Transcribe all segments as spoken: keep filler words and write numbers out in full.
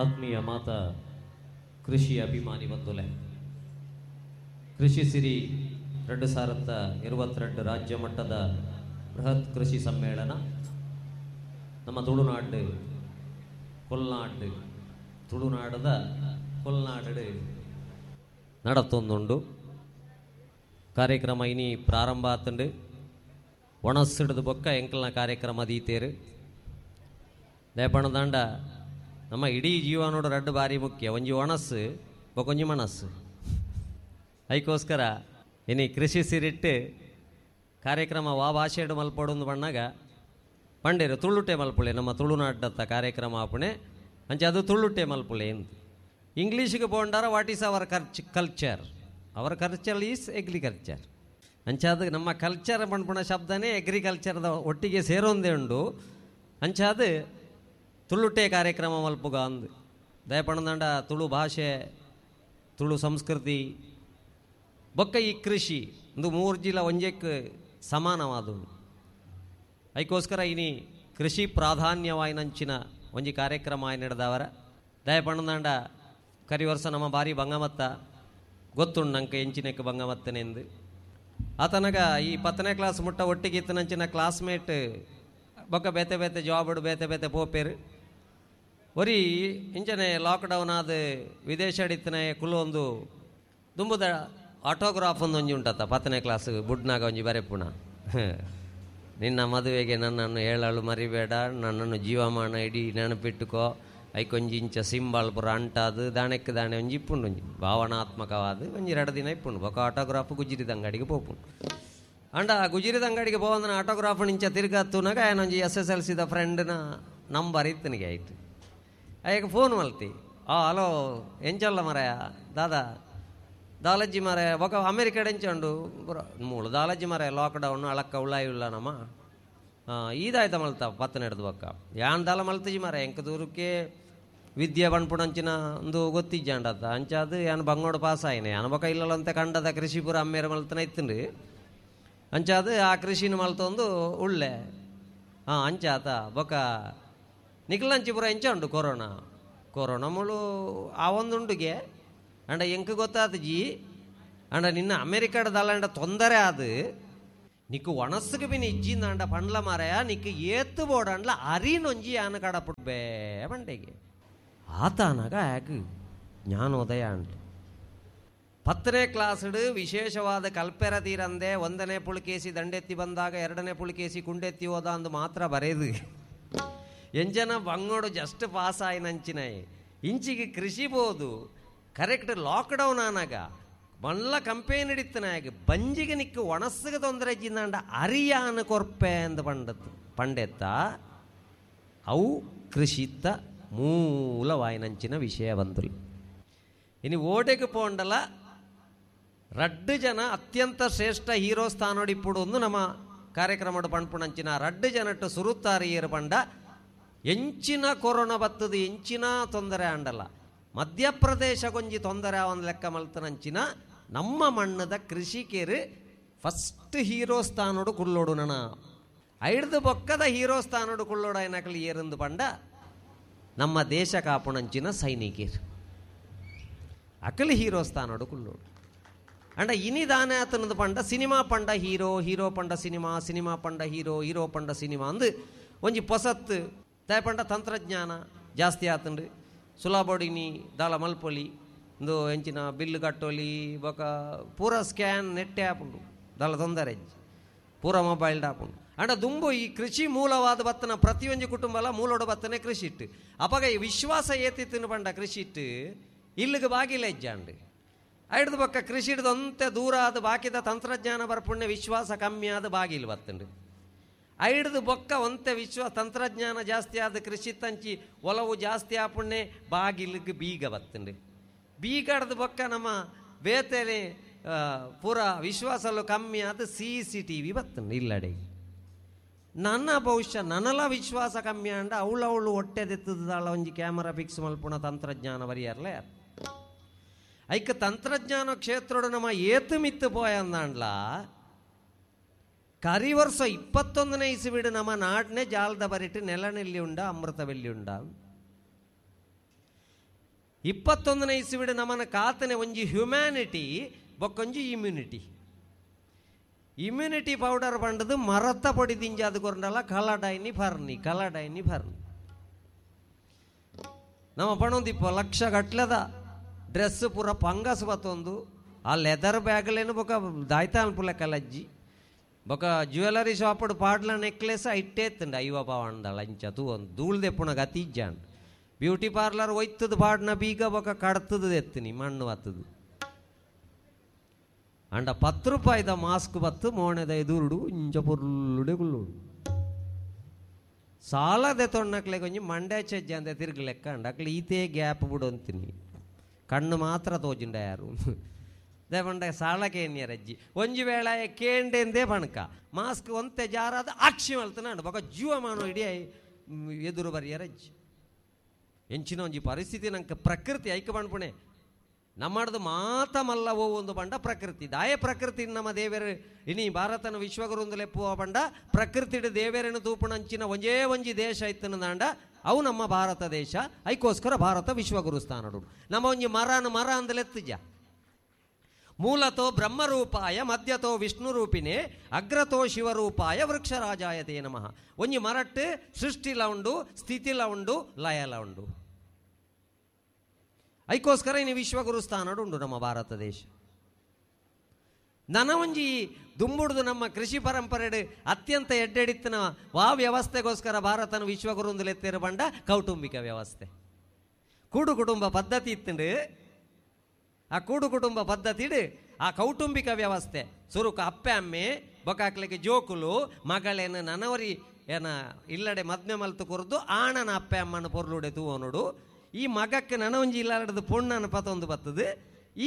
ಆತ್ಮೀಯ ಮಾತಾ ಕೃಷಿ ಅಭಿಮಾನಿ ಬಂಧುಲೆ, ಕೃಷಿ ಸಿರಿ ಎರಡು ಸಾವಿರದ ಇರುವತ್ತೆರಡು ರಾಜ್ಯ ಮಟ್ಟದ ಬೃಹತ್ ಕೃಷಿ ಸಮ್ಮೇಳನ ನಮ್ಮ ತುಳುನಾಡು ಕೊಲ್ನಾಡು ತುಳುನಾಡದ ಕೊಲ್ನಾಡು ನಡತೊಂದುಂಡು. ಕಾರ್ಯಕ್ರಮ ಇನಿ ಪ್ರಾರಂಭ ಆತುಂಡು. ಒಣಸಿಡ್ದು ಬೊಕ್ಕ ಎಂಕಲ್ನ ಕಾರ್ಯಕ್ರಮ ದೀತೇರು. ದಯಪಣದಾಂಡ ನಮ್ಮ ಇಡೀ ಜೀವನೋಡು ರಡ್ಡು ಬಾರಿ ಮುಖ್ಯ, ಒಂಜಿ ಒಣಸ್ಸು ಬೊಕೊಂಜಿ ಮನಸ್ಸು. ಐಕೋಸ್ಕರ ಇನಿ ಕೃಷಿ ಸಿರಿಟ್ಟು ಕಾರ್ಯಕ್ರಮ ವಾ ಭಾಷೆಡು ಮಲ್ಪೊಡೊಂದು ಬಣ್ಣಾಗ ಪಂಡೇರು ತುಳುಟೆ ಮಲ್ಪುಳೆ, ನಮ್ಮ ತುಳುನಾಡತ್ತ ಕಾರ್ಯಕ್ರಮ ಆಪುಣೆ ಅಂಚೆ ಅದು ತುಳುಟೆ ಮಲ್ಪುಳೆ ಎಂದು. ಇಂಗ್ಲೀಷ್ಗೆ ಪೋಂಡಾರ what is our ಕರ್ಚ್ culture, our culture is agriculture. ಅಂಚೆ ಅದು ನಮ್ಮ ಕಲ್ಚರ್ ಪಣ್ಪುಣ ಶಬ್ದನೇ ಅಗ್ರಿಕಲ್ಚರ್ದ ಒಟ್ಟಿಗೆ ಸೇರೊಂದೇ ಉಂಡು. ಅಂಚೆ ಅದು ತುಳುಟೆ ಕಾರ್ಯಕ್ರಮ ಮಲ್ಪುಗ ಅಂದು ದಯಪಣದಂಡ ತುಳು ಭಾಷೆ ತುಳು ಸಂಸ್ಕೃತಿ ಬೊಕ್ಕ ಈ ಕೃಷಿ ಒಂದು ಮೂರು ಜಿಲ್ಲ ಒಂಜೆಕ್ ಸಮಾನವಾದವು. ಐಕೋಸ್ಕರ ಇನಿ ಕೃಷಿ ಪ್ರಾಧಾನ್ಯವಾಯಿನಂಚಿನ ಒಂಜಿ ಕಾರ್ಯಕ್ರಮ ಆಯ್ ನಡೆದವರ ದಯಪಣದಂಡ ಕರಿ ವರ್ಷ ನಮ್ಮ ಭಾರಿ ಬಂಗಮತ್ತ ಗೊತ್ತುಂಡು ನಂಗೆ ಎಂಚಿನಕ್ಕೆ ಬಂಗಮತ್ತನೆಂದು. ಆತನಗ ಈ ಪತ್ತನೇ ಕ್ಲಾಸ್ ಮುಟ್ಟ ಒಟ್ಟಿಗೆ ಇತ್ತನಂಚಿನ ಕ್ಲಾಸ್ಮೇಟ್ ಬೊಕ್ಕ ಬೇತೆ ಬೇತೆ ಜಾಬ್ ಬೇತೆ ಬೇತೆ ಪೋಪೇರು ಒರಿ ಇಂಚನೆ ಲಾಕ್ಡೌನ್ ಆದ ವಿದೇಶ ಇತ್ತನೆ ಕುಲ್ಲೊಂದು ದುಂಬುದ ಆಟೋಗ್ರಾಫ್ ಒಂದು ಒಂಜಿ ಉಂಟತ್ತ ಪತ್ತನೇ ಕ್ಲಾಸ್ ಬುಡ್ನಾಗ ಒಂಜಿ ಬರೆಪುಣ, ನಿನ್ನ ಮದುವೆಗೆ ನನ್ನನ್ನು ಹೇಳಲು ಮರಿಬೇಡ, ನನ್ನನ್ನು ಜೀವಮಾನ ಇಡೀ ನೆನಪಿಟ್ಟುಕೋ, ಐಕೊಂಜಿ ಇಂಚ ಸಿಂಬಲ್ ಪುರ ಅಂಟಾದು ದಾಣಕ್ಕೆ ದಾಣೆ ಒಂಜಿ ಇಪ್ಪುಂಡು ಒಂಜಿ ಭಾವನಾತ್ಮಕವಾದ ಒಂಜಿ ಎರಡು ದಿನ ಇಪ್ಪುಂಡು. ಬೊಕ್ಕ ಆಟೋಗ್ರಾಫ್ ಗುಜಿರಿದ ಅಂಗಡಿಗೆ ಪೋಪುಂಡು. ಅಂಡ ಆ ಗುಜಿರಿದ ಅಂಗಡಿಗೆ ಪೋವಂದನ ಆಟೋಗ್ರಾಫ್ ಇಂಚ ತಿರ್ಗತ್ತುನಾಗ ಏನೊಂಜಿ ಎಸ್ ಎಸ್ ಎಲ್ ಸಿದ ಫ್ರೆಂಡ್ನ ನಂಬರ್ ಇತ್ತನಿಗೆ ಆಯ್ತು. ಆಯ್ಕೆ ಫೋನ್ ಮಲ್ತಿ, ಆ ಹಲೋ ಎಂಚಲ್ಲ ಮರಯ ದಾದಾ ದಾಲಜ್ಜಿ ಮರ ಬೊಕ ಅಮೇರಿಕಡ್ ಎಂಚುಂಡು ಮೂಳು ದಾಲಜ್ಜಿ ಮರ ಲಾಕ್ಡೌನ್ ಅಳಕ್ಕ ಉಳ್ಳಾಯಿ ಉಳ್ಳ ನಮ್ಮ ಈದಾಯ್ತ ಮಲ್ತ ಪತ್ತನ ಹಿಡ್ದು ಬೊಕ್ಕ ಯಾನ್ ದಾಲ ಮಲ್ತಜಿ ಮರ ಎಂಕ ದೂರಕ್ಕೆ ವಿದ್ಯೆ ಪಣ್ಪುಣಂಚಿನ ಒಂದು ಗೊತ್ತಿಜ್ಜಾಂಡತ್ತ ಅಂಚಾದು ಯಾನ್ ಬಂಗೋಡು ಪಾಸ್ ಆಯ್ನೆ ಯಾನ್ ಬೊಕ ಇಲ್ಲಂತೆ ಕಂಡದ ಕೃಷಿಪುರ ಅಮ್ಮೇರ ಮಲ್ತನ ಇತ್ತುಂಡು. ಅಂಚಾದು ಆ ಕೃಷಿನ ಮಲ್ತೊಂದು ಉಳ್ಳೆ ಹಾಂ ಅಂಚಾತ ಬೊಕ ನಿಖಲಂಚಿಪುರ ಎಂಚ ಉಂಡು ಕೊರೋನಾ ಕೊರೋನಾ ಮುಳು ಆ ಒಂದುಂಡುಗೆ ಅಂಡ ಎಂಕ್ ಗೊತ್ತಾತ ಜಿ ಅಂಡ ನಿನ್ನ ಅಮೇರಿಕಾಡದಲ್ಲ ಅಂಡ ತೊಂದರೆ ಅದು ನಿಕ್ಕು ಒಣಸ್ಸುಗೆ ಬಿನ್ ಇಜ್ಜಿಂದ ಅಂಡ ಪಂಡ್ಲ ಮಾರಾಯ ನಿಕ್ಕು ಏತ್ತು ಬೋಡಂಡ್ಲ ಅರಿನೊಂಜಿ ಆನ ಕಡಪುಡ್ಬೇ ಬಂಡೆಗೆ ಆತನಾಗ ಯಾಕೆ ಜ್ಞಾನೋದಯ ಅಂಟ. ಪತ್ತನೇ ಕ್ಲಾಸ್ಡು ವಿಶೇಷವಾದ ಕಲ್ಪೆರ ತೀರಂದೆ ಒಂದನೇ ಪುಳಿಕೇಸಿ ದಂಡೆತ್ತಿ ಬಂದಾಗ ಎರಡನೇ ಪುಳಿಕೇಸಿ ಕುಂಡೆತ್ತಿ ಹೋದ ಅಂದು ಮಾತ್ರ ಬರೆದು ಎಂಜನ ಬಂಗೋಡು ಜಸ್ಟ್ ಪಾಸ್ ಆಯ್ನಂಚಿನಾಯಿ ಇಂಚಿಗೆ ಕೃಷಿ ಬೋದು ಕರೆಕ್ಟ್ ಲಾಕ್ಡೌನ್ ಆನಾಗ ಮಲ್ಲ ಕಂಪೇನ್ ಹಿಡಿತನಾಗ ಬಂಜಿಗೆ ನಿಕ್ಕು ಒಣಸ್ಸಿಗೆ ತೊಂದರೆ ಜಿಂದಾಂಡ ಅರಿಯಾನ ಕೊರ್ಪೆ ಅಂದ ಪಂಡತ್ ಪಂಡೆತ್ತ ಅವು ಕೃಷಿತ್ತ ಮೂಲವಾಯಿನಂಚಿನ ವಿಷಯ ಬಂದುಲು. ಇನ್ನು ಓಟೆಗೆ ಪೋಂಡಲ ರಡ್ಡು ಜನ ಅತ್ಯಂತ ಶ್ರೇಷ್ಠ ಹೀರೋ ಸ್ಥಾನೋಡಿಪ್ಪುಡು ಒಂದು ನಮ್ಮ ಕಾರ್ಯಕ್ರಮಡು ಪಣ್ಪುಣಂಚಿನ ರಡ್ಡು ಜನಟ್ಟು ಸುರುತ್ತಾರಿಯರು ಪಂಡ ಎಂಚಿನ ಕೊರೋನಾ ಬತ್ತದು ಎಂಚಿನ ತೊಂದರೆ ಅಂಡಲ್ಲ ಮಧ್ಯಪ್ರದೇಶ ಕೊಂಜಿ ತೊಂದರೆ ಒಂದು ಲೆಕ್ಕ ಮಲ್ತನಂಚಿನ ನಮ್ಮ ಮಣ್ಣದ ಕೃಷಿಕರು ಫಸ್ಟ್ ಹೀರೋ ಸ್ಥಾನೋಡು ಕುಳ್ಳೋಡು ನನ ಐಡ್ದು ಬೊಕ್ಕದ ಹೀರೋ ಸ್ಥಾನೋಡು ಕುಳ್ಳೋಡು ಐನಕಲಿ ಏರಂದು ಪಂಡ ನಮ್ಮ ದೇಶ ಕಾಪುಣಂಚಿನ ಸೈನಿಕರು ಅಕಲಿ ಹೀರೋ ಸ್ಥಾನೋಡು ಕುಳ್ಳೋಡು. ಅಂಡ ಇನಿ ದಾನೆ ಆತನದು ಪಂಡ ಸಿನಿಮಾ ಪಂಡ ಹೀರೋ ಹೀರೋ ಪಂಡ ಸಿನಿಮಾ ಸಿನಿಮಾ ಪಂಡ ಹೀರೋ ಹೀರೋ ಪಂಡ ಸಿನಿಮಾ ಅಂದು ಒಂಜಿ ಪೊಸತ್ತು ತಾಯ ಪಂಡ ತಂತ್ರಜ್ಞಾನ ಜಾಸ್ತಿ ಆತಂಡು ಸುಲಾಬೋಡಿನಿ ದಾಲ ಮಲ್ಪೊಲಿ ಇಂದು ಎಂಚಿನ ಬಿಲ್ಲು ಕಟ್ಟೋಲಿ ಬೊಕ ಪೂರ ಸ್ಕ್ಯಾನ್ ನೆಟ್ಟೆ ಆಪುಂಡು ದಾಲ ತೊಂದರೆ ಪೂರ ಮೊಬೈಲ್ ಆಪುಂಡು. ಅಂಡ ದುಂಬು ಈ ಕೃಷಿ ಮೂಲವಾದ ಬತ್ತನ ಪ್ರತಿಯೊಂಜಿ ಕುಟುಂಬಲ ಮೂಲೋಡ ಬತ್ತನೆ ಕೃಷಿ ಇಟ್ಟು ಅಪಗ ಈ ವಿಶ್ವಾಸ ಏತಿತ್ತಿನ ಪಂಡ ಕೃಷಿ ಇಟ್ಟು ಇಲ್ಲಿಗೆ ಬಾಗಿಲ ಹೆಜ್ಜಾಂಡು ಐಡ್ದು ಬೊಕ್ಕ ಕೃಷಿ ಹಿಡ್ದು ದೂರ ಆದ ಬಾಕಿದ ತಂತ್ರಜ್ಞಾನ ಬರ್ಪುಣ್ಯ ವಿಶ್ವಾಸ ಕಮ್ಮಿ ಆದ ಬಾಗಿಲು ಬತ್ತಂಡು. ಐಡ್ದು ಬೊಕ್ಕ ಒಂತೆ ವಿಶ್ವ ತಂತ್ರಜ್ಞಾನ ಜಾಸ್ತಿ ಆದ ಕೃಷಿ ತಂಚಿ ಒಲವು ಜಾಸ್ತಿ ಆಪುಣ್ಯ ಬಾಗಿಲಿಗೆ ಬೀಗ ಬತ್ತಂಡು. ಬೀಗಡ್ದು ಬೊಕ್ಕ ನಮ್ಮ ಬೇತೆನೆ ಪೂರ ವಿಶ್ವಾಸಲು ಕಮ್ಮಿ ಆದ ಸಿ ಸಿ ಟಿ ವಿ ಬತ್ತಂಡು ಇಲ್ಲಡೆ. ನನ್ನ ಬಹುಶಃ ನನಲ ವಿಶ್ವಾಸ ಕಮ್ಮಿ ಅಂಡ ಅವಳು ಹೊಟ್ಟೆ ದೆತ್ತದಾಳ ಒಂಜಿ ಕ್ಯಾಮರಾ ಫಿಕ್ಸ್ ಮಲ್ಪುಣ ತಂತ್ರಜ್ಞಾನ ಬರಿಯರ್ಲೆ ಐಕ ತಂತ್ರಜ್ಞಾನ ಕ್ಷೇತ್ರೋಡು ನಮ್ಮ ಏತು ಮಿತ್ತು ಪೋಯಂದಾಂಡ್ಲ ಕರಿ ವರ್ಷ ಇಪ್ಪತ್ತೊಂದನೇ ಇಸುವಿಡು ನಮ್ಮ ನಾಡನೆ ಜಾಲದ ಬರಿಟ್ಟು ನೆಲನೆಲ್ಲಿ ಉಂಡ ಅಮೃತವೆಲ್ಲಿ ಉಂಡ. ಇಪ್ಪತ್ತೊಂದನೇ ಇಸುವಿಡು ನಮ್ಮನ ಕಾತನೆ ಒಂಜಿ ಹ್ಯುಮ್ಯಾನಿಟಿ ಬೊಕ್ಕೊಂಜಿ ಇಮ್ಯುನಿಟಿ. ಇಮ್ಯುನಿಟಿ ಪೌಡರ್ ಬಂಡದು ಮರತ್ತ ಪೊಡಿ ದಿಂಜಾದು ಕೊರಂಡಲ್ಲ ಕಲಡೈನಿ ಫರ್ನಿ ಕಲಡೈನಿ ಫರ್ನಿ. ನಮ್ಮ ಪಣೊಂದಿಪ್ಪ ಲಕ್ಷ ಗಟ್ಲೆದ ಡ್ರೆಸ್ ಪೂರ ಪಂಗಸ್ ಬತ್ತೊಂದು ಆ ಲೆದರ್ ಬ್ಯಾಗ್ಲೇನು ಬೊಕ ದಾಯ್ತ ಅನ್ಪುಲೆ ಕಲಜ್ಜಿ ಬೊಕ ಜ್ಯುವೆಲರಿ ಶಾಪಡು ಪಾಡ್ಲ ನೆಕ್ಲೆಸ್ ಇಟ್ಟೇತ್ತಂಡ ಐವ ಪಾವಂಡಳ ಇಂಚ ತೂ ಒಂದು ಧೂಳ್ದೆಪ್ಪುಣ ಗತಿ ಇಜ್ಜಾಂಡ್. ಬ್ಯೂಟಿ ಪಾರ್ಲರ್ ಒಯ್ತದ ಪಾಡ್ನ ಬೀಗ ಬೊಕ ಕಡ್ತದ ಎತ್ತೀನಿ ಮಣ್ಣು ಬತ್ತದು. ಅಂಡ ಪತ್ತು ರೂಪಾಯಿದ ಮಾಸ್ಕ್ ಬತ್ತು ಮೋಣೆದ ಎದುರುಡು ಇಂಚ ಪೊರ್ಲುಡೆ ಗುಲ್ಲುಡು ಸಾಲದೆ ತೊಣ್ಣಕ್ಲೆ ಕೊಂಚ ಮಂಡೆ ಚೆಜ್ಜ ಅಂದೆ ತಿರುಗಲೆಕ್ಕ ಅಂಡ ಅಕ್ಲೆ ಈತೇ ಗ್ಯಾಪ್ ಬಿಡು ಅಂತೀನಿ ಕಣ್ಣು ಮಾತ್ರ ತೋಜಿಂಡ ಯಾರು ದೇಪಂಡ ಸಾಲ ಕೇನ್ಯರಜ್ಜಿ ಒಂಜಿ ವೇಳೆ ಕೇಂಡೆಂದೇ ಬಣಕ ಮಾಸ್ಕ್ ಒಂತೆ ಜಾರಾದ ಅಕ್ಷಿ ಮಲ್ತನ ಬೊಕ ಜೀವಮಾನ ಇಡೀ ಎದುರು ಬರಿಯರಜ್ಜಿ. ಎಂಚಿನ ಒಂಜಿ ಪರಿಸ್ಥಿತಿ ನಂಗೆ ಪ್ರಕೃತಿ ಐಕ ಪಣ್ಪುಣೆ ನಮ್ಮಡ್ದು ಮಾತ ಮಲ್ಲ ಓ ಒಂದು ಬಂಡ ಪ್ರಕೃತಿ ದಾಯ ಪ್ರಕೃತಿ ನಮ್ಮ ದೇವೇರು ಇನಿ ಭಾರತನ ವಿಶ್ವಗುರುಂದು ಲೆಪ್ಪುವ ಬಂಡ ಪ್ರಕೃತಿಡು ದೇವೇರನ್ನು ತೂಪುಣಂಚಿನ ಒಂಜೇ ಒಂಜಿ ದೇಶ ಇತ್ತನ ದಾಂಡ ಅವು ನಮ್ಮ ಭಾರತ ದೇಶ. ಐಕೋಸ್ಕರ ಭಾರತ ವಿಶ್ವಗುರು ಸ್ಥಾನಡು. ನಮ್ಮ ಒಂಜಿ ಮರನ ಮರ ಅಂದಲೆತ್ತುಜ ಮೂಲತೋ ಬ್ರಹ್ಮರೂಪಾಯ ಮಧ್ಯತೋ ವಿಷ್ಣು ರೂಪಿನೇ ಅಗ್ರತೋ ಶಿವರೂಪಾಯ ವೃಕ್ಷರಾಜಾಯತೇ ನಮಃ. ಒಂಜಿ ಮರಟ್ಟು ಸೃಷ್ಟಿಲ ಉಂಡು ಸ್ಥಿತಿಲ ಉಂಡು ಲಯಲ ಉಂಡು. ಐಕೋಸ್ಕರ ಇನ್ನು ವಿಶ್ವಗುರು ಸ್ಥಾನಡು ಉಂಡು ನಮ್ಮ ಭಾರತ ದೇಶ. ನನ ಒಂಜಿ ದುಂಬುಡ್ದು ನಮ್ಮ ಕೃಷಿ ಪರಂಪರೆ ಅತ್ಯಂತ ಎಡ್ಡೆಡಿತ್ತನ ವಾ ವ್ಯವಸ್ಥೆಗೋಸ್ಕರ ಭಾರತನ ವಿಶ್ವಗುರು ಲೆತ್ತೇರು ಬಂಡ ಕೌಟುಂಬಿಕ ವ್ಯವಸ್ಥೆ ಕೂಡು ಕುಟುಂಬ ಪದ್ಧತಿ ಇತ್ತಂಡು. ಆ ಕೂಡು ಕುಟುಂಬ ಪದ್ಧತಿಡು ಆ ಕೌಟುಂಬಿಕ ವ್ಯವಸ್ಥೆ ಸುರುಕು ಅಪ್ಪೆ ಅಮ್ಮೆ ಬೊಕಾಕ್ಲಿಗೆ ಜೋಕುಲು ಮಗಳೇನು ನನವರಿ ಏನ ಇಲ್ಲಡೆ ಮದ್ಮೆ ಮಲ್ತು ಕೊರ್ದು ಆಣನ ಅಪ್ಪೆ ಅಮ್ಮನ ಪೊರ್ಲುಡೆ ತೂವನುಡು. ಈ ಮಗಕ್ಕೆ ನನೊಂಜಿ ಇಲ್ಲಾಡದು ಪೊಣ್ಣನ ಪತೊಂದು ಬರ್ತದೆ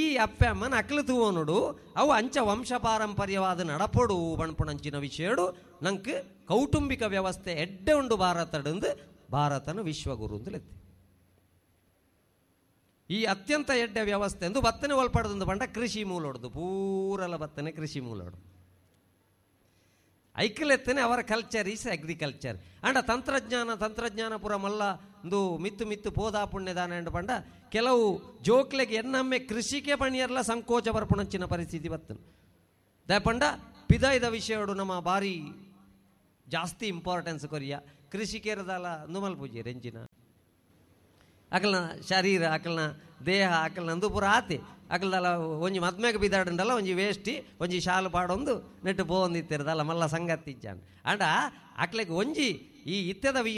ಈ ಅಪ್ಪೆ ಅಮ್ಮನ ಅಕ್ಲು ತೂವನುಡು. ಅವು ಅಂಚ ವಂಶ ಪಾರಂಪರ್ಯವಾದ ನಡಪೊಡು ಬಣ್ಪುಣಂಚಿನ ವಿಷಯಡು ನಂಗೆ ಕೌಟುಂಬಿಕ ವ್ಯವಸ್ಥೆ ಎಡ್ಡೆ ಉಂಡು ಭಾರತಡಂದು ಭಾರತನ ವಿಶ್ವಗುರು ಅಂದಲೆತ್ತಿ. ಈ ಅತ್ಯಂತ ಎಡ್ಡೆ ವ್ಯವಸ್ಥೆ ಎಂದು ಬತ್ತನೆ ಒಲ್ಪಡದಂದು ಬಂಡ ಕೃಷಿ ಮೂಲೊಡ್ದು ಪೂರಲ ಬತ್ತನೆ ಕೃಷಿ ಮೂಲೊಡು ಐಕಲೆತ್ತನೆ ಅವರ ಕಲ್ಚರ್ is agriculture. ಅಂಡ ತಂತ್ರಜ್ಞಾನ ತಂತ್ರಜ್ಞಾನ ಪುರ ಮಲ್ಲ ಒಂದು ಮಿತ್ತು ಮಿತ್ತು ಪೋದಾ ಪುಣ್ಯದಾನ ಎಂಡು ಪಂಡ ಕೆಲವು ಜೋಕ್ಲೆಗೆ ಎನ್ನಮ್ಮೆ ಕೃಷಿಗೆ ಪಣಿಯರ್ಲ ಸಂಕೋಚ ಬರ್ಪುಣಂಚಿನ ಪರಿಸ್ಥಿತಿ ಬತ್ತನು. ದಯಪಂಡ ಪಿದಾಯ್ದ ವಿಷಯಡು ನಮ್ಮ ಭಾರಿ ಜಾಸ್ತಿ ಇಂಪಾರ್ಟೆನ್ಸ್ ಕೊರಿಯ ಕೃಷಿಕೇರದಲ್ಲ ನುಮಲ್ ಪೂಜೆ ರೆಂಜಿನ ಅಕಲ್ನ ಶರೀರ ಅಕಲ್ನ ದೇಹ ಅಕಲ್ನ ಅಂದು ಪೂರ ಆತೆ ಅಕಲ್ದಲ್ಲ ಒಂಜಿ ಮದ್ಮೆಗೆ ಬಿದ್ದಾಡಂಡಲ್ಲ ಒಂಜಿ ವೇಷ್ಟಿ ಒಂಜಿ ಶಾಲು ಪಾಡೊಂದು ನೆಟ್ಟು ಪೋವೊಂದಿತ್ತಿರದಲ್ಲ ಮಲ್ಲ ಸಂಗತಿ ಇಜ್ಜಾನ್. ಅಂಡ ಅಕ್ಲೆಗೆ ಒಂಜಿ ಈ ಇತ್ಯದ ವಿ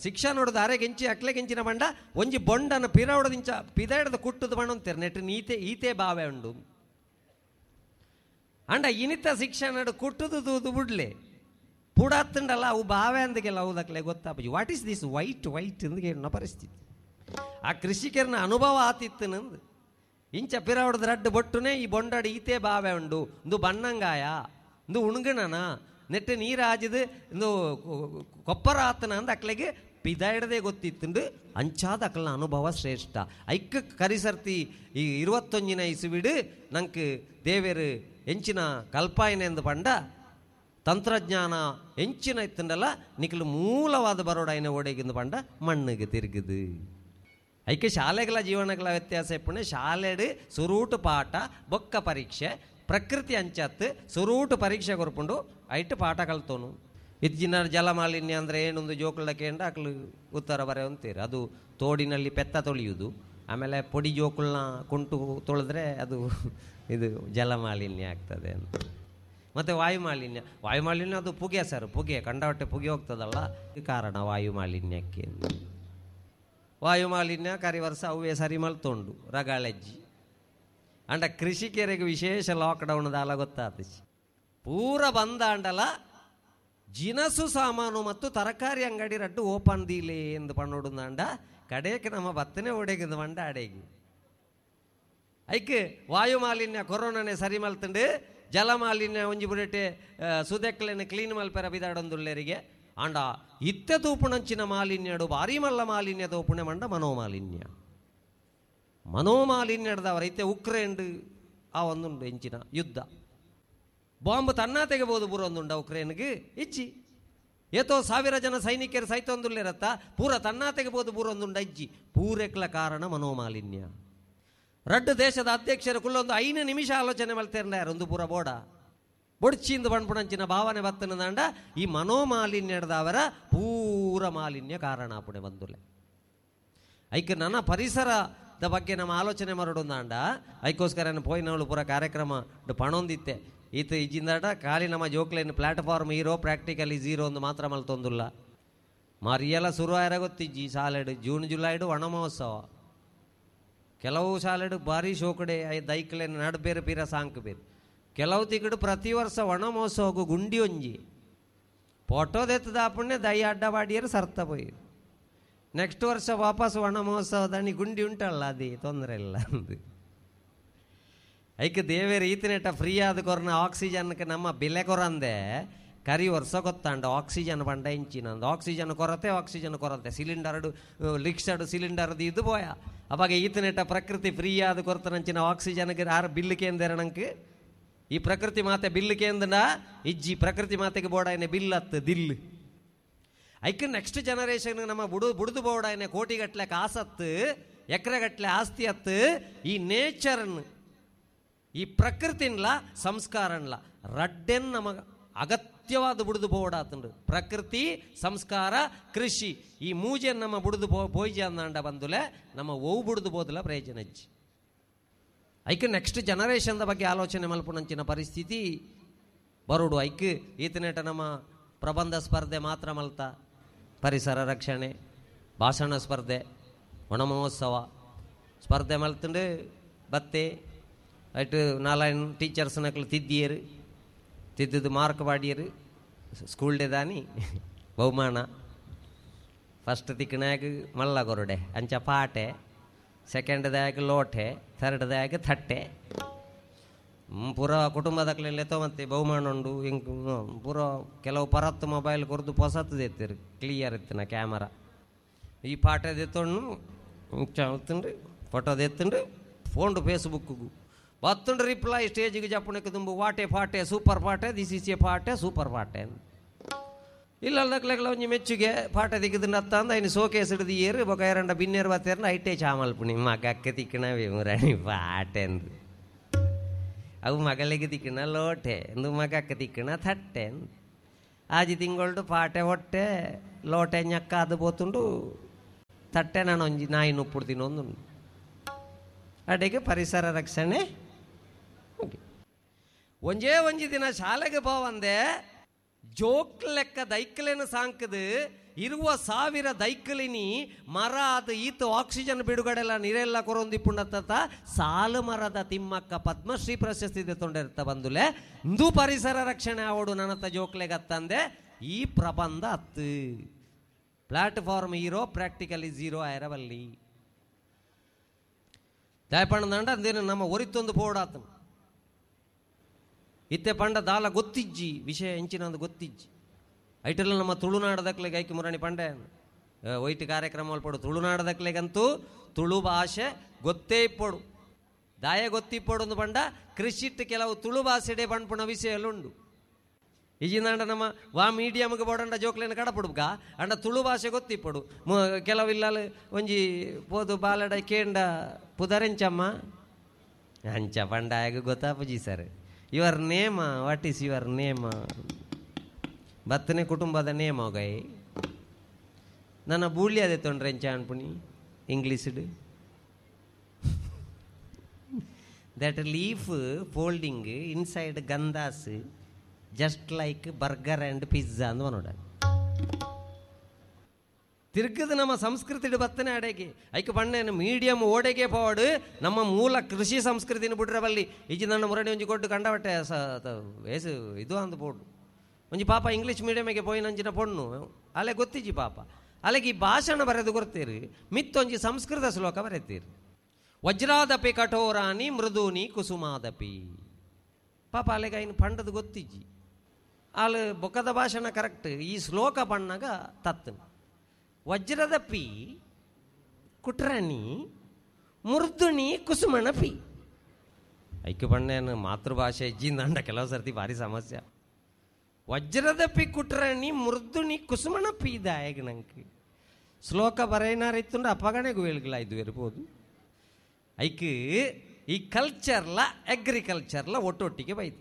ಶಿಕ್ಷಾ ನೋಡುದು ಅರೆಗೆಂಚಿ ಅಕ್ಲೆಗೆಂಚಿನ ಬಂಡ ಒಂಜಿ ಬೊಂಡನ ಪಿರವಡದಿಂಚ ಪಿದಾಡದ ಕುಟ್ಟದ ಬಣ್ಣ ಅಂತೀರ ನೆಟ್ಟು ನೀತೆ ಈತೆ ಬಾವೆ ಉಂಡು. ಅಂಡ ಇನಿತ ಶಿಕ್ಷಣ ನಡು ಕುಟ್ಟುದು ದೂದು ಬುಡ್ಲೆ ಪುಡಾತ್ತಂಡಲ್ಲ ಅವು ಬಾವೆ ಅಂದಗೆಲ್ಲ ಹೌದಕ್ಲೆ ಗೊತ್ತಾಪಜಿ what is this white white ಅಂದ್ಗೆ ಪರಿಸ್ಥಿತಿ. ಆ ಕೃಷಿಕರನ ಅನುಭವ ಆತಿತ್ತು ನಂದು ಇಂಚ ಪಿರವಡದ ರಡ್ಡು ಬೊಟ್ಟುನೆ ಈ ಬೊಂಡಾಡು ಈತೆ ಬಾವೆ ಉಂಡು ಇಂದು ಬಣ್ಣಂಗಾಯ ಇಂದು ಉಣ್ಗಣನ ನೆಟ್ಟು ನೀರಾಜಿದು ಇಂದು ಕೊಪ್ಪರ ಆತನ ಅಂದ ಅಕ್ಲೆಗೆ ಪಿದಾಯಿಡದೆ ಗೊತ್ತಿತ್ತುಂಡು. ಅಂಚಾದ ಅಕ್ಲನ ಅನುಭವ ಶ್ರೇಷ್ಠ. ಐಕ್ಕ ಕರಿಸರ್ತಿ ಈ ಇರುವತ್ತೊಂಜಿನ ಇಸುವಿಡು ನಂಗೆ ದೇವೇರು ಎಂಚಿನ ಕಲ್ಪಾಯನೆ ಎಂದು ಪಂಡ ತಂತ್ರಜ್ಞಾನ ಎಂಚಿನ ಇತ್ತಂಡಲ್ಲ ನಿಖಲು ಮೂಲವಾದ ಬರೋಡಾಯನ ಓಡೆಗಿಂದು ಪಂಡ ಮಣ್ಣಿಗೆ ತಿರುಗುದು. ಐಕೆ ಶಾಲೆಗಳ ಜೀವನಗಳ ವ್ಯತ್ಯಾಸ ಎಪ್ಪುಣೆ ಶಾಲೆಡು ಸುರೂಟು ಪಾಠ ಬೊಕ್ಕ ಪರೀಕ್ಷೆ ಪ್ರಕೃತಿ ಅಂಚತ್ತು ಸುರೂಟು ಪರೀಕ್ಷೆ ಕೊರ್ಪುಂಡು ಐಟು ಪಾಠ ಕಲ್ತೋನು. ಇತ್ತಿನ ಜಲಮಾಲಿನ್ಯ ಅಂದರೆ ಏನೊಂದು ಜೋಕುಳ ಕೇಂದ್ರ ಅಕ್ಲು ಉತ್ತರ ಬರೆ ಅಂತೀರಿ. ಅದು ತೋಡಿನಲ್ಲಿ ಪೆತ್ತ ತೊಳೆಯುವುದು, ಆಮೇಲೆ ಪೊಡಿ ಜೋಕುಳನ್ನ ಕುಂಟು ತೊಳೆದ್ರೆ ಅದು ಇದು ಜಲಮಾಲಿನ್ಯ ಆಗ್ತದೆ ಅಂತ. ಮತ್ತು ವಾಯುಮಾಲಿನ್ಯ ವಾಯುಮಾಲಿನ್ಯ ಅದು ಪುಗೆ ಸರ್, ಪುಗೆ ಕಂಡವಟ್ಟೆ ಪುಗೆ ಹೋಗ್ತದಲ್ಲ ಕಾರಣ ವಾಯುಮಾಲಿನ್ಯಕ್ಕೆ. ವಾಯುಮಾಲಿನ್ಯ ಕರಿ ವರ್ಷ ಅವೇ ಸರಿ ಮಲ್ತೊಂಡು ರಗಾಳೆಜ್ಜಿ. ಅಂಡ ಕೃಷಿಕರಿಗೆ ವಿಶೇಷ ಲಾಕ್ಡೌನ್ ದಾಲ ಗೊತ್ತಾತ ಪೂರ ಬಂದ ಅಂಡಲ ಜಿನಸು ಸಾಮಾನು ಮತ್ತು ತರಕಾರಿ ಅಂಗಡಿ ರಡ್ಡು ಓಪನ್ ದೀಲೆ ಎಂದು ಪಣ್ಣೋಡು ಕಡೆಗೆ ನಮ್ಮ ಬತ್ತನೆ ಓಡೆಗಿಂದು ಮಂಡ ಅಡೆಗೆ ಐಕ್ ವಾಯುಮಾಲಿನ್ಯ ಕೊರೋನಾನೇ ಸರಿ ಮಲ್ತಂಡು ಜಲಮಾಲಿನ್ಯ ಒಂಜಿ ಬುಡೆಟೆ ಸುದೆಕ್ಲೆನ ಕ್ಲೀನ್ ಮಲ್ಪೆರ ಬಿದಾಡೊಂದುಲ್ಲೆರಿಗೆ ಆಂಡ ಇತ್ತೆ ತೂಪುಣಂಚಿನ ಮಾಲಿನ್ಯಡು ಭಾರಿ ಮಲ್ಲ ಮಾಲಿನ್ಯ ತೂಪುಣೆ ಮಂಡ ಮನೋಮಾಲಿನ್ಯ ಮನೋಮಾಲಿನ್ಯಡ್ದವರ ಇತ್ತೆ ಉಕ್ರೇನ್ಡ್ ಆ ಒಂದುಂಡು ಎಂಚಿನ ಯುದ್ಧ ಬಾಂಬ್ ತನ್ನ ತೆಗೆಬೋದು ಬುರೊಂದುಂಡ ಉಕ್ರೇನ್ಗೆ ಇಚ್ಚಿ ಏತೋ ಸಾವಿರ ಜನ ಸೈನಿಕರು ಸೈತೊಂದುಲ್ಲೇರತ್ತ ಪೂರ ತನ್ನಾತೆಗೆ ಬೋದು ಪೂರೊಂದುಂಡ ಇಜ್ಜಿ ಪೂರೆಕ್ಲ ಕಾರಣ ಮನೋಮಾಲಿನ್ಯ. ರಡ್ಡು ದೇಶದ ಅಧ್ಯಕ್ಷರು ಕುಲ್ಲೊಂದು ಐದು ನಿಮಿಷ ಆಲೋಚನೆ ಮಲ್ತೇರ್ನ ಒಂದು ಪೂರ ಬೋಡ ಬೊಡ್ಚಿಂದು ಬಣ್ಪುಣಂಚಿನ ಭಾವನೆ ಬತ್ತನದಾಂಡ ಈ ಮನೋಮಾಲಿನ್ಯದವರ ಪೂರ ಮಾಲಿನ್ಯ ಕಾರಣ ಆಪುಣೆ ಬಂದುಲೆ. ಐಕ್ ನನ್ನ ಪರಿಸರದ ಬಗ್ಗೆ ನಮ್ಮ ಆಲೋಚನೆ ಮರಡೊಂದಾಂಡ ಐಕೋಸ್ಕರ ಪೋಯಿನವಳು ಪೂರ ಕಾರ್ಯಕ್ರಮ ಪಣೊಂದಿತ್ತೆ. ಈತ ಇಜ್ಜಿಂದಾಟ ಖಾಲಿ ನಮ್ಮ ಜೋಕ್ಲೇನು ಪ್ಲಾಟ್ಫಾರ್ಮ್ ಹೀರೋ ಪ್ರಾಕ್ಟಿಕಲಿ ಝೀರೋ ಒಂದು ಮಾತ್ರ ಮಲ್ತೊಂದುಲ್ಲ. ಮರಿಯೆಲ್ಲ ಶುರು ಆಯ್ರ ಗೊತ್ತಿಜ್ಜಿ ಶಾಲೆಡು ಜೂನ್ ಜುಲೈಡು ವನ ಮಹೋತ್ಸವ. ಕೆಲವು ಶಾಲೆಡು ಭಾರಿ ಶೋಕಡೆ ದೈಕ್ಲೇನು ನಡ್ಬೇರು ಪೀರ ಸಾಂಕ್ ಬೇರು. ಕೆಲವು ತಿಕ್ಕಡು ಪ್ರತಿ ವರ್ಷ ವನ ಮಹೋತ್ಸವಕ್ಕೂ ಗುಂಡಿ ಒಂಜಿ ಫೋಟೋದೆತ್ತದಾಪುಣ್ಯ ದೈ ಅಡ್ಡವಾಡಿಯರು ಸರ್ತ ಪೋಯಿ. ನೆಕ್ಸ್ಟ್ ವರ್ಷ ವಾಪಸ್ ವನ ಮಹೋತ್ಸವದಾನಿ ಗುಂಡಿ ಉಂಟಲ್ಲ ಅದೇ ತೊಂದರೆ ಇಲ್ಲ ಅಂದು. ಐಕ್ ದೇವೇರು ಈತನೆಟ ಫ್ರೀ ಆದ ಕೊರನ ಆಕ್ಸಿಜನ್ಗೆ ನಮ್ಮ ಬೆಲೆ ಕೊರಂದೆ ಕರಿ ವರ್ಷ ಗೊತ್ತಾಂಡ ಆಕ್ಸಿಜನ್ ಬಂಡ ಇಂಚಿನಂದು ಆಕ್ಸಿಜನ್ ಕೊರತೆ ಆಕ್ಸಿಜನ್ ಕೊರತೆ ಸಿಲಿಂಡರ್ಡು ಲಿಕ್ಸಡು ಸಿಲಿಂಡರ್ದು ಇದು ಬೋಯ. ಅವಾಗ ಈತನೆಟ ಪ್ರಕೃತಿ ಫ್ರೀ ಆದ ಕೊರತನಂಚಿನ ಆಕ್ಸಿಜನ್ಗೆ ಆರು ಬಿಲ್ಲು ಕೇಂದ್ರ ಈ ಪ್ರಕೃತಿ ಮಾತೆ ಬಿಲ್ಲು ಕೇಂದ್ರ ಇಜ್ಜಿ ಪ್ರಕೃತಿ ಮಾತೆಗೆ ಬೋಡಾಯನೆ ಬಿಲ್ ಅತ್ತು ದಿಲ್. ಐಕ್ ನೆಕ್ಸ್ಟ್ ಜನರೇಷನ್ ನಮ್ಮ ಬುಡು ಬುಡ್ದು ಬೋಡಾಯನೆ ಕೋಟಿಗಟ್ಲೆ ಕಾಸತ್ತು ಎಕರೆಗಟ್ಲೆ ಆಸ್ತಿ ಅತ್ತು ಈ ನೇಚರ್ನ್ ಈ ಪ್ರಕೃತಿನ್ಲ ಸಂಸ್ಕಾರನ್ಲ ರಡ್ಡೆನ್ ನಮಗ ಅಗತ್ಯವಾದ ಬುಡ್ದು ಬೋಡಾತಂಡು. ಪ್ರಕೃತಿ ಸಂಸ್ಕಾರ ಕೃಷಿ ಈ ಮೂಜೆನ್ ನಮ್ಮ ಬುಡ್ದು ಬೋ ಬೋಯ್ಜ ಅಂದಾಂಡ ಬಂದುಲೆ ನಮ್ಮ ಓವು ಬುಡ್ದು ಬೋದಲ ಪ್ರಯೋಜನ ಇಜ್ಜಿ. ಐಕ್ ನೆಕ್ಸ್ಟ್ ಜನರೇಷನ್ದ ಬಗ್ಗೆ ಆಲೋಚನೆ ಮಲ್ಪುನಂಚಿನ ಪರಿಸ್ಥಿತಿ ಬರುಡು. ಐಕ್ ಈತನೇಟ ನಮ್ಮ ಪ್ರಬಂಧ ಸ್ಪರ್ಧೆ ಮಾತ್ರ ಮಲ್ತ ಪರಿಸರ ರಕ್ಷಣೆ ಭಾಷಣ ಸ್ಪರ್ಧೆ ವನಮಹೋತ್ಸವ ಸ್ಪರ್ಧೆ ಮಲ್ತಂಡು ಬತ್ತೆ ಐಟು ನಾಲ್ಕು ಟೀಚರ್ಸ್ ನಕಲು ತಿದ್ದಿಯರು ತಿದ್ದಿದ್ದು ಮಾರ್ಕ್ ಪಾಡಿಯರು ಸ್ಕೂಲ್ ಡೇ ದಾನಿ ಬಹುಮಾನ ಫಸ್ಟ್ ತಿಕ್ಕನಾಗ ಮಲ್ಲ ಕೊರಡೆ ಅಂಚ ಪಾಟೆ ಸೆಕೆಂಡ್ ದಾಗ್ ಲೋಟೆ ಥರ್ಡ್ ದಾಗ್ ಥಟ್ಟೆ ಪೂರ ಕುಟುಂಬದಕ್ಲೆಲ್ಲ ಮತ್ತೆ ಬಹುಮಾನ ಉಂಡು ಇಂಕ್ ಪೂರ ಕೆಲವು ಪರತ್ತು ಮೊಬೈಲ್ ಕೊರದು ಪೊಸತ್ತು ಎತ್ತಿರು ಕ್ಲಿಯರ್ ಇತ್ತಿನ ಕ್ಯಾಮರಾ ಈ ಪಾಠ ಎತ್ತೊಂಡು ತಿಂಡ್ರಿ ಫೋಟೋದ ಎತ್ತಂಡ್ರಿ ಫೋನ್ಡು ಫೇಸ್ಬುಕ್ಗೂ ಬತ್ತಂಡ್ರಿ ರಿಪ್ಲೈ ಸ್ಟೇಜಿಗೆ ಜಪ್ಪಣಕ್ಕೆ ತುಂಬ ವಾಟೆ ಪಾಟೆ ಸೂಪರ್ ಪಾಟೆ this is A ಪಾಟೆ ಸೂಪರ್ ಪಾಟೆ ಇಲ್ಲ ಅಲ್ಲಕ್ಲೆಗ್ಲ ಒಂಜಿ ಮೆಚ್ಚುಗೆ ಪಾಠ ದಿಕ್ಕದ ಅತ್ತ ಅಂದ ಐನು ಸೋಕೇಸ್ ಹಿಡಿದು ಏರು ಬೊಕ ಎರಂಡ ಬಿನ್ನೇರು ಬತ್ತೇರ್ನ ಐಟೇ ಚಾಮಲ್ಪುಣಿ ಮಗಕ್ಕೆ ತಿಕ್ಕಣವೇ ಮುರಾಣಿ ಪಾಟೆ ಅಂದು ಅವು ಮಗಳಿಗೆ ತಿಕ್ಕಣ ಲೋಟೆ ಅಂದು ಮಗಕ್ಕೆ ತಿಕ್ಕಣ ಥಟ್ಟೆ ಆಜಿ ತಿಂಗೊಳ್ಡು ಪಾಟೆ ಹೊಟ್ಟೆ ಲೋಟೆ ñಕ್ಕ ಅದು ಬೋತುಂಡು ತಟ್ಟೆ ನಾನು ಒಂಜಿ ನಾಯಿ ನುಪ್ಪುಡ್ತೀನಿ ಒಂದುಂಡು. ಅಡೆಗೆ ಪರಿಸರ ರಕ್ಷಣೆ ಒಂಜೇ ಒಂಜಿ ದಿನ ಶಾಲೆಗೆ ಪೋವಂದೆ ಜೋಕ್ ಲೆಕ್ಕ ದೈಕ್ಲೇನು ಸಾಂಕದು ಇರುವ ಸಾವಿರ ದೈಕ್ಲಿನಿ ಮರ ಅದು ಈತ ಆಕ್ಸಿಜನ್ ಬಿಡುಗಡೆಲ್ಲ ನೀರೆಲ್ಲ ಕೊರೊಂದಿಪ್ಪುಂಡತ್ತ ಸಾಲು ಮರದ ತಿಮ್ಮಕ್ಕ ಪದ್ಮಶ್ರೀ ಪ್ರಶಸ್ತಿ ತೊಂಡಿರ್ತ ಬಂದುಲೆ ಇಂದು ಪರಿಸರ ರಕ್ಷಣೆ ಅವಡು ನನ್ನತ್ತ ಜೋಕ್ಲೆಗತ್ತಂದೆ ಈ ಪ್ರಬಂಧ ಅತ್ತು ಪ್ಲಾಟ್ಫಾರ್ಮ್ ಹೀರೋ ಪ್ರಾಕ್ಟಿಕಲಿ ಝೀರೋ ಆಯರವಲ್ಲಿ ದಾಯಪಣ್ಣದಂಡ ಅಂದೇನು ನಮ್ಮ ಒರಿತೊಂದು ಪೋಡಾತನು ಇತ್ತೆ ಪಂಡ ದಾಲ ಗೊತ್ತಿಜ್ಜಿ ವಿಷಯ ಎಂಚಿನಂದು ಗೊತ್ತಿಜ್ಜಿ ಐಟೆಲ್ಲ ನಮ್ಮ ತುಳುನಾಡದಕ್ಲೆಗೆ ಐಕಿ ಮುರಾಣಿ ಪಂಡೆ ಒಯ್ಟ್ ಕಾರ್ಯಕ್ರಮ ಪಡು ತುಳುನಾಡದಕ್ಲೆಗಂತೂ ತುಳು ಭಾಷೆ ಗೊತ್ತೇ ಇಪ್ಪಡು ದಾಯ ಗೊತ್ತಿಪ್ಪಡು ಒಂದು ಪಂಡ ಕೃಷಿಟ್ಟು ಕೆಲವು ತುಳು ಭಾಷೆಡೆ ಪಣ್ಪುಣ ವಿಷಯ ಉಂಡು. ಈಜಿನಾಂಡ ನಮ್ಮ ವಾ ಮೀಡಿಯಮ್ಗೆ ಬೋಡಂಡ ಜೋಕ್ಲೇನ ಕಡಪುಡ್ಕ ಅಂಡ ತುಳು ಭಾಷೆ ಗೊತ್ತಿಪ್ಪಡು ಕೆಲವಿಲ್ಲ ಒಂಜಿ ಪೋದು ಬಾಲಡ ಕೇಂಡ ಪುದರೆಂಚಮ್ಮ ಅಂಚ ಪಂಡಾಗ ಗೊತ್ತಾಪುಜಿ sir your name what is your name ಬತ್ತನೆ ಕುಟುಂಬದ ನೇಮ್ ಹೋಗೈ ನನ್ನ ಬೂಳ್ಳಿ ಅದೇ ತೊಂಡ್ರೆ ಎಂಚ ಅನ್ಪುಣಿ ಇಂಗ್ಲೀಷ್ಡ್ that leaf folding inside ಗಂದಾಸ್ just like burger and pizza ಅಂದ್ ನೋಡ ತಿರ್ಗದ ನಮ್ಮ ಸಂಸ್ಕೃತಿ ಬತ್ತನೆ ಅಡೆಗೆ ಐಕ ಬಣ್ಣೇನು ಮೀಡಿಯಂ ಓಡೆಗೆ ಪೋಡು ನಮ್ಮ ಮೂಲ ಕೃಷಿ ಸಂಸ್ಕೃತಿನ ಬಿಡ್ರಬಲ್ಲಿ ಈಜಿ ನನ್ನ ಮುರಡಿ ಒಂಜಿ ಕೊಟ್ಟು ಕಂಡಬಟ್ಟೆ ಸ ಏಸು ಇದು ಅಂದು ಪೋಡು ಒಂಜಿ ಪಾಪ ಇಂಗ್ಲೀಷ್ ಮೀಡಿಯಮಿಗೆ ಪೋಯಿನಂಚಿನ ಪೊಣ್ಣು ಅಲ್ಲೇ ಗೊತ್ತಿಜ್ಜಿ ಪಾಪ ಅಲ್ಲಿಗೆ ಈ ಭಾಷಣ ಬರೆದು ಕೊಡ್ತೀರಿ ಮಿತ್ತೊಂಜಿ ಸಂಸ್ಕೃತ ಶ್ಲೋಕ ಬರೆತೀರಿ ವಜ್ರಾದಪಿ ಕಠೋರಾಣಿ ಮೃದೂನಿ ಕುಸುಮಾದಪಿ ಪಾಪ ಅಲ್ಲಿಗೆ ಐನು ಪಂಡದು ಗೊತ್ತಿಜ್ಜಿ ಅಲ್ಲಿ ಬೊಕ್ಕದ ಭಾಷಣ ಕರೆಕ್ಟ್ ಈ ಶ್ಲೋಕ ಪಣ್ಣಾಗ ತತ್ತು ವಜ್ರದ ಪಿ ಕುಟ್ರಾಣಿ ಮೃದುಣಿ ಕುಸುಮಣ ಪಿ ಐಕ್ಯ ಪಣ್ಣೇನು ಮಾತೃಭಾಷೆ ಇಜ್ಜಿಂದಂಡ ಕೆಲವು ಸರ್ತಿ ಭಾರಿ ಸಮಸ್ಯೆ. ವಜ್ರದ ಪಿ ಕುಟ್ರಣಿ ಮೃದುನಿ ಕುಸುಮಣ ಪೀದಾಯಗ ನಂಗೆ ಶ್ಲೋಕ ಬರೆಯನಾರ ಇತ್ತುಂಡು ಅಪ್ಪಗಣೆ ಗುವೇಲ್ಗಳ ಇದು ಇರ್ಬೋದು. ಐಕ್ ಈ ಕಲ್ಚರ್ಲ ಅಗ್ರಿಕಲ್ಚರ್ಲ ಒಟ್ಟೊಟ್ಟಿಗೆ ಬೈದು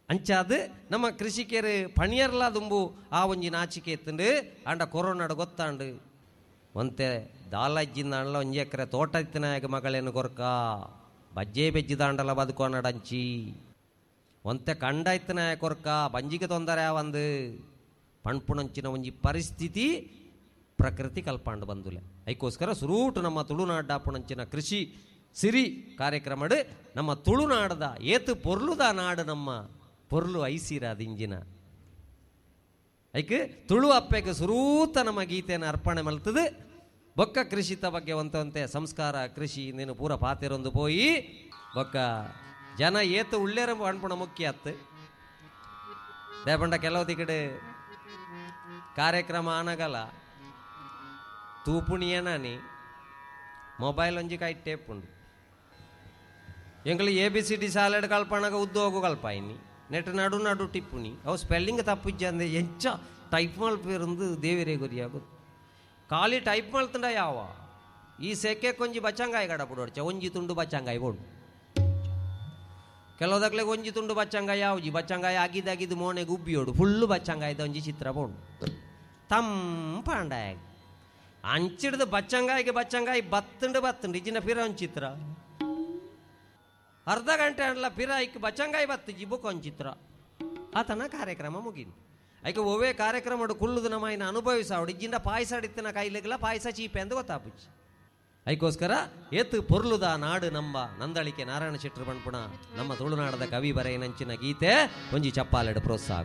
ಅಂಚಾದ ನಮ್ಮ ಕೃಷಿಕರು ಪಣಿಯರ್ಲ ದುಂಬು ಆ ಒಂಜಿ ನಾಚಿಕೆ ಎತ್ತುಂಡು. ಆಂಡ ಕೊರೋನಾಡು ಗೊತ್ತಾಂಡು ಒಂತೆ ದಾಲಜ್ಜಿಂದಾಂಡಲ ಒಂಜಿ ಎಕರೆ ತೋಟ ಇತ್ತಿನಾಯಗ ಮಗಳೇನು ಕೊರ್ಕ ಬಜ್ಜೆ ಬೆಜ್ಜಿದಾಂಡಲ ಬದುಕೋನಡಂಚಿ ಒಂತೆ ಕಂಡ ಇತ್ತಿನಾಯ ಕೊರ್ಕ ಬಂಜಿಗೆ ತೊಂದರೆ ಒಂದು ಪಣ್ಪುಣಂಚಿನ ಒಂಜಿ ಪರಿಸ್ಥಿತಿ ಪ್ರಕೃತಿ ಕಲ್ಪಾಂಡು ಬಂದುಲೆ. ಐಕೋಸ್ಕರ ಸುರೂಟು ನಮ್ಮ ತುಳುನಾಡಾಪುಣಂಚಿನ ಕೃಷಿ ಸಿರಿ ಕಾರ್ಯಕ್ರಮಡು ನಮ್ಮ ತುಳುನಾಡದ ಏತು ಪೊರ್ಲುದ ನಾಡು ನಮ್ಮ ಪೊರ್ಲು ಐಸಿರಾದ ಇಂಜಿನ ಐಕ್ ತುಳು ಅಪ್ಪೆಗೆ ಸುರೂತ ನಮ್ಮ ಗೀತೆಯನ್ನು ಅರ್ಪಣೆ ಮಲ್ತದು. ಬೊಕ್ಕ ಕೃಷಿತ ಬಗ್ಗೆ ಒಂತಂತೆ ಸಂಸ್ಕಾರ ಕೃಷಿ ನೀನು ಪೂರ ಪಾತಿರೊಂದು ಪೋಯಿ ಬೊಕ್ಕ ಜನ ಏತು ಉಳ್ಳೇರ ಅನ್ಪುಣ ಮುಖ್ಯ ಅತ್ತು. ದೇಪಂಡ ಕೆಲವು ಕಡೆ ಕಾರ್ಯಕ್ರಮ ಆನಗಲ ತೂಪುಣಿಯನಾನಿ ಮೊಬೈಲ್ ಒಂಜಿ ಕೈ ಟೇಪುಂಡು ಎಂಗಳು ಎ ಬಿ ಸಿ ಡಿ ಸಾಲೆಡ್ ಕಲ್ಪಣಗ ಉದ್ಯೋಗ ಕಲ್ಪಾಯಿನಿ ನೆಟ್ ನಡು ನಡು ಟಿಪ್ಪುಣಿ ಅವು ಸ್ಪೆಲ್ಲಿಂಗ್ ತಪ್ಪಿಜ್ಜಂದೆ ಎಂಚ ಟೈಪ್ ಮಲ್ಪಿರಂದು ದೇವಿರೇ ಗುರಿಯಾಗೋದು ಖಾಲಿ ಟೈಪ್ ಮಲ್ತಂಡ ಯಾವ ಈ ಸೆಕೆ ಕೊಂಜಿ ಬಚ್ಚಂಗಾಯಿ ಗಡಪುಡು ಒಂಜಿ ತುಂಡು ಬಚ್ಚಂಗಾಯಿ ಬೋಡು ಕೆಲವುದಕ್ಲೆ ಒಂಜಿ ತುಂಡು ಬಚ್ಚಂಗಾಯಿ ಯಾವ್ಜಿ ಬಚ್ಚಂಗಾಯಿ ಆಗಿದ್ದಾಗಿದ್ದು ಮೋನೆ ಗುಬ್ಬಿಯೋಡು ಫುಲ್ಲು ಬಚ್ಚಂಗಾಯ್ದ ಒಂಜಿ ಚಿತ್ರ ಬೋಡು ತಂಪಾಂಡಾಯ ಅಂಚಿಡ್ದು ಬಚ್ಚಂಗಾಯಿಗೆ ಬಚ್ಚಂಗಾಯಿ ಬತ್ತುಂಡು ಬತ್ತುಂಡು ಇಜಿನ ಪಿರ ಒಂದು ಚಿತ್ರ ಅರ್ಧ ಗಂಟೆ ಅನ್ಲ ಪಿರ ಐಕ್ ಬಚ್ಚಂಗಾಯಿ ಬತ್ತು ಜಿಬುಕ್ ಒಂದು ಚಿತ್ರ ಆತನ ಕಾರ್ಯಕ್ರಮ ಮುಗಿದು. ಐಕೆ ಒವೇ ಕಾರ್ಯಕ್ರಮ ಕುಳ್ಳುದು ನಮ್ಮ ಇನ್ನು ಅನುಭವಿಸಾವಡು ಇಜ್ಜಿಂದ ಪಾಯಸ ಅಡಿತ್ತಿನ ಕಾಯಿಲೆಗೆಲ್ಲ ಪಾಯಸ ಚೀಪೆ ಅಂತ ಗೊತ್ತಾಪುಚ್ಚಿ. ಐಕೋಸ್ಕರ ಏತು ಪೊರ್ಲುದ ನಾಡು ನಮ್ಮ ನಂದಳಿಕೆ ನಾರಾಯಣ ಶೆಟ್ಟರು ಪಣ್ಪುಣ ನಮ್ಮ ತುಳುನಾಡದ ಕವಿ ಬರೆಯನಂಚಿನ ಗೀತೆ ಒಂಜಿ ಚಪ್ಪಾಲೆಡು ಪ್ರೋತ್ಸಾಹ.